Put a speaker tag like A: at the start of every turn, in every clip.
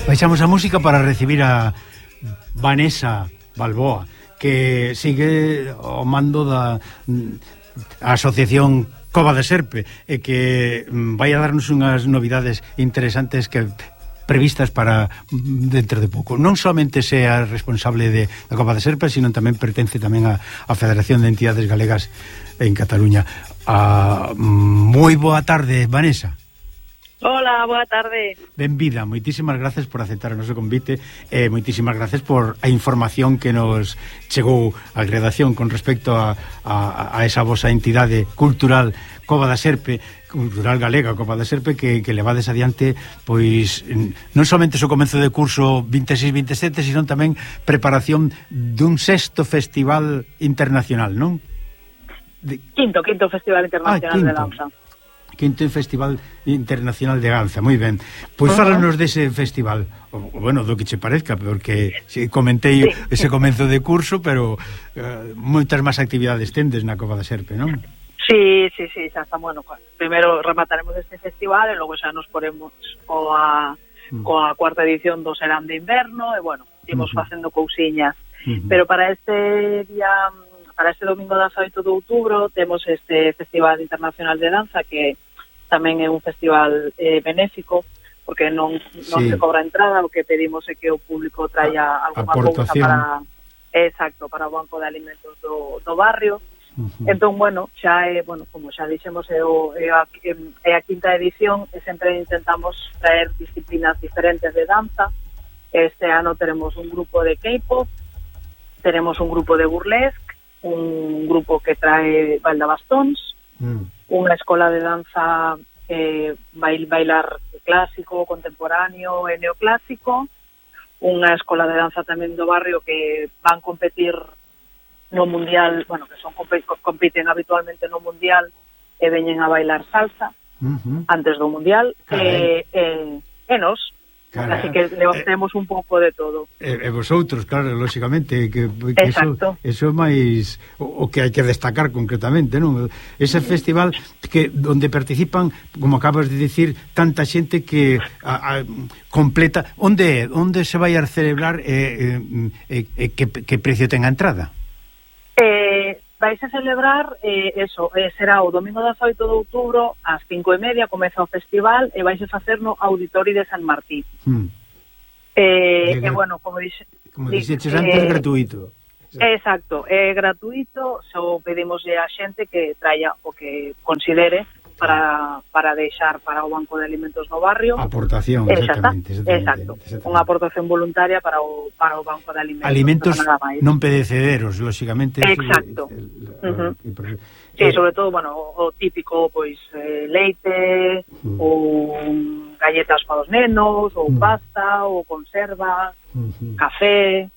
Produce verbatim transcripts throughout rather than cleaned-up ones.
A: Baixamos a música para recibir a Vanessa Balboa, que sigue ao mando da a Asociación Cova de Serpe, e que vai a darnos unhas novidades interesantes que previstas para dentro de pouco. Non somente sea responsable de, da Cova de Serpe, sino tamén pertence tamén a, a Federación de Entidades Galegas en Cataluña. Ah, moi boa tarde, Vanessa.
B: Hola, boa tarde.
A: Benvida, moitísimas gracias por aceptar o noso convite e eh, moitísimas gracias por a información que nos chegou á redacción con respecto a, a, a esa vosa entidade cultural Cova da Serpe, cultural galega Cova da Serpe, que, que levades adiante pois non somente o comezo de curso vinte e seis vinte e sete, sino tamén preparación dun sexto festival internacional, non?
B: De... Quinto, quinto Festival Internacional ah, de Danza.
A: Quinto Festival Internacional de Danza, moi ben. Pois uh -huh. fálanos dese festival, o, bueno, do que che parezca, porque si, comentei sí. ese comenzo de curso, pero uh, moitas máis actividades tendes na Cova da Serpe, non?
B: Sí, sí, sí, xa está, bueno, primeiro remataremos este festival e logo xa nos poremos coa, uh -huh. coa cuarta edición do Serán de Inverno e, bueno, imos uh -huh. facendo cousiñas. Uh -huh. Pero para este día, para este domingo dezaoito de outubro, temos este Festival Internacional de Danza, que tamén é un festival eh, benéfico, porque non, non sí. se cobra entrada, o que pedimos é que o público traia alguma cousa para, exacto, para o banco de alimentos do, do barrio. Uh-huh. Entón, bueno, xa é, bueno, como xa dixemos, é, o, é, a, é a quinta edición e sempre intentamos traer disciplinas diferentes de danza. Este ano teremos un grupo de K-pop, teremos un grupo de burlesque, un grupo que trae baldabastóns, mm. unha escola de danza eh, bail, bailar clásico, contemporáneo e neoclásico, unha escola de danza tamén do barrio que van competir no mundial, bueno, que son compiten habitualmente no mundial e veñen a bailar salsa uh -huh. antes do mundial e, e, e nos Cara, así que le temos eh, un pouco de todo.
A: E, e vosotros, claro, lógicamente que, que eso, eso é máis o, o que hai que destacar concretamente, non? Ese festival que onde participan, como acabas de dicir, tanta xente que a, a, completa, onde onde se vai a celebrar e eh, eh, eh, que, que precio ten a entrada?
B: Eh Vais a celebrar, eh, eso, eh, será o domingo dezaoito de outubro, ás cinco e media, comeza o festival, e vais a facer no Auditorio de San Martí. Hmm. Eh, e, bueno, como dixe...
A: Como dixeches antes, é eh, gratuito.
B: Exacto, é gratuito, só pedimos a xente que traia o que considere para, para deixar para o Banco de Alimentos no barrio.
A: Aportación, exactamente,
B: exactamente, exacto, exactamente. Unha aportación voluntaria para o, para o Banco de Alimentos.
A: Alimentos non pedecederos, lógicamente.
B: Exacto. El, el, uh -huh. el, el, sí, eh, sobre todo, bueno, o, o típico, pois, eh, leite, uh -huh. ou galletas para os nenos, ou uh -huh. pasta, ou conserva, uh -huh. café,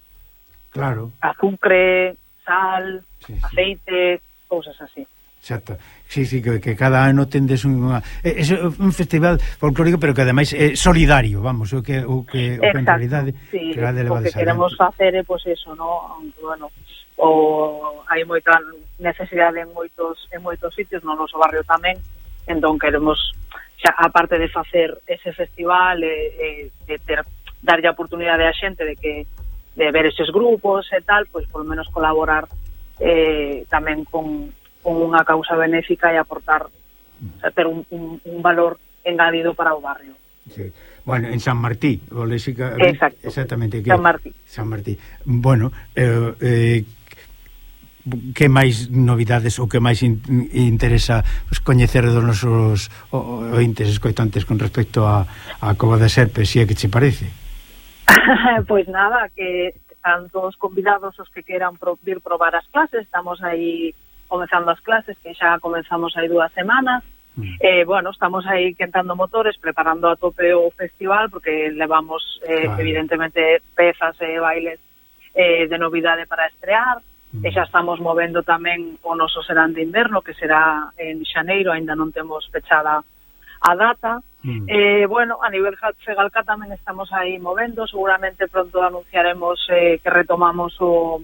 A: claro,
B: azúcar, sal, sí, sí. aceite, cousas así.
A: Exacto. Sí, sí, que, que cada ano tendes unha é, é un festival folclórico, pero que ademais é solidario, vamos, o que o que, o que en realidade
B: sí, o que queremos facer é pois pues, eso, no, bueno, o hai moita necesidade en moitos en moitos sitios, no noso barrio tamén, entón queremos xa, aparte de facer ese festival e, e de ter darlle a oportunidade á xente de que de ver eses grupos e tal, pois pues, por lo menos colaborar eh, tamén con con unha causa benéfica e aportar, o sea, ter un, un, un valor engadido para o barrio.
A: Sí. Bueno, en San Martí, o Léxica,
B: exacto,
A: exactamente, que,
B: San Martí.
A: San Martí. Bueno, eh, eh, que máis novidades ou que máis in, interesa pues, coñecer dos nosos ointes escoitantes con respecto a, a Cova de Serpe, si é que che parece?
B: Pois pues nada, que están todos convidados os que queran pro, vir probar as clases, estamos aí comenzando as clases, que xa comenzamos hai dúas semanas, mm. eh, bueno, estamos aí quentando motores, preparando a tope o festival, porque levamos, eh, claro. evidentemente, pezas e bailes eh, de novidade para estrear, mm. e xa estamos movendo tamén o noso Serán de Inverno, que será en xaneiro, aínda non temos fechada a data, mm. eh, bueno, a nivel Fegalca tamén estamos aí movendo, seguramente pronto anunciaremos eh, que retomamos o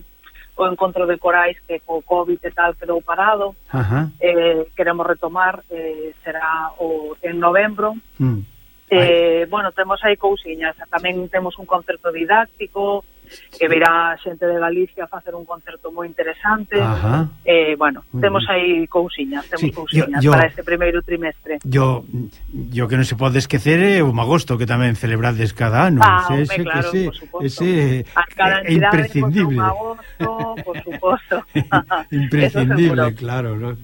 B: o encontro de corais que co COVID e tal quedou parado.
A: Ajá.
B: Eh, queremos retomar, eh, será o, en novembro, mm. Eh, bueno, temos aí cousiñas, tamén temos un concerto didáctico que virá xente de Galicia a facer un concerto moi interesante.
A: Ajá.
B: Eh, bueno, temos aí cousiñas, temos sí, cousiñas yo, yo, para este primeiro trimestre.
A: Yo, yo que non se pode esquecer é o Magosto, que tamén celebrades cada ano.
B: Ah,
A: ese,
B: hombre, claro,
A: ese,
B: por suposto.
A: Ese
B: a cada
A: é imprescindible.
B: Pues, Magosto, por suposto.
A: Imprescindible, claro, ¿no?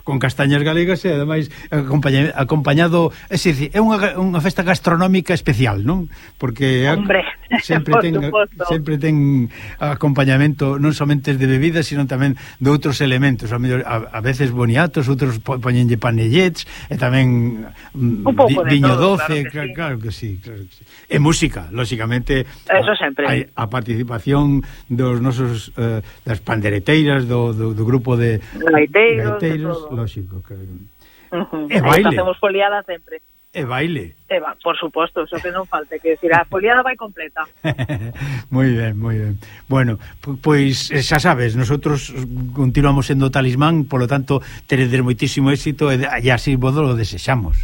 A: Con castañas galegas e ademais acompaña, acompañado, é dicir, é unha, unha festa gastronómica especial, non? Porque
B: Hombre,
A: sempre ten suposto. sempre ten acompañamento non somente de bebidas, sino tamén de outros elementos, a, mellor, a, a veces boniatos, outros poñenlle panellets e tamén
B: un pouco
A: vi, viño
B: todo,
A: doce, claro que, sí. claro que sí, claro que sí. E música, lógicamente.
B: Eso sempre.
A: A, a participación dos nosos eh, das pandereteiras do, do, do grupo de
B: gaiteiros,
A: gaiteiros, lógico, claro.
B: Uh-huh.
A: E baile.
B: Facemos foliada sempre.
A: E baile.
B: E va, por suposto, eso que non falte, que decir, a foliada vai completa.
A: Moi ben, moi ben. Bueno, pois xa sabes, nosotros continuamos sendo Talismán, polo tanto, teredes moitísimo éxito e así vos lo desexamos.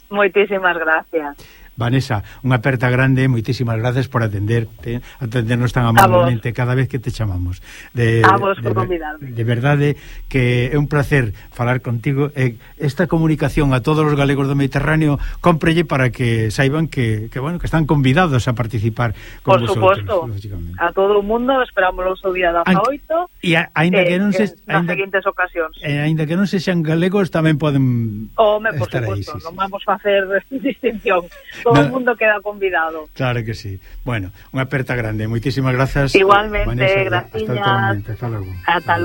B: Moitísimas gracias.
A: Vanessa, unha aperta grande, moitísimas gracias por atenderte, atendernos tan amablemente cada vez que te chamamos. De,
B: a vos
A: de,
B: por convidarme.
A: De verdade que é un placer falar contigo. E esta comunicación a todos os galegos do Mediterráneo cómprelle para que saiban que, que bueno, que están convidados a participar con
B: por
A: vosotros.
B: Por suposto, a todo o mundo esperamos o día da oito
A: e a, ainda que non se
B: nas seguintes ocasións.
A: E ainda que non se xan galegos tamén poden
B: Home, por
A: estar
B: suposto,
A: aí, sí,
B: non
A: sí.
B: vamos a facer distinción. Todo no, o mundo queda convidado.
A: Claro que sí. Bueno, unha aperta grande. Moitísimas grazas.
B: Igualmente,
A: Vanessa,
B: gracias.
A: Hasta, hasta luego.
B: Hasta luego.